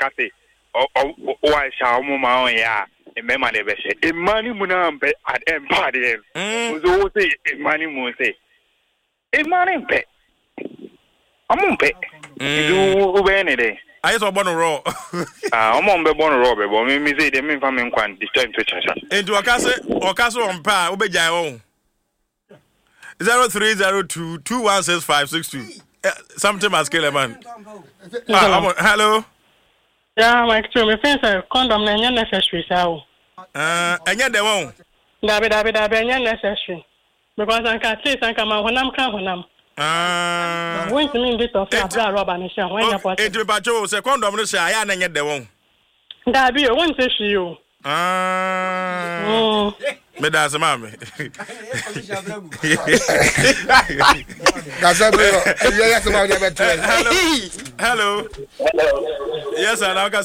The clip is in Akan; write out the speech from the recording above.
ka se wɔahyɛ a wɔn ma wɔnyɛ a mmarima na ɛbɛhyɛ. Mmaa no mu no mpɛ mpɛ adeɛ no. Nso wo se mmaa no mu se mmaa no mpɛ. Ɔmo mpɛ. Nti wobɛyɛ ne dɛn? Ayɛ sɛ ɔbɔ no rɔ. Ah, ɔmo a ɔmo bɛbɔ no rɔ bɛbɔ. Me me sei deɛ memfa me nkwa nhyɛ nto kyakya. Nti ɔka se ɔka se ɔmpɛ a wobɛgyae wɔn. 0302 216562. Something must kill a man. Ah, hello. Yeah, Mike too. Me feel sɛ condom na ɛnyɛ necessary saa o. Ɛnyɛ dɛ wɔn. Dabi dabi dabi ɛnyɛ necessary because anka at least anka ma honam ka honam. Wontumi ndi tɔfe abere a rɔba no hyɛ ho ɛnyɛ possible. Enti mepatwo o sɛ condom no hyɛ a ɛyɛ a na ɛnyɛ dɛ wɔn. Dabi o wonte hwee o. Meda ase maame. Kasa bi yɛ yɛ sɛ ma ɔde abɛto. Hello. Hello. Yes sir.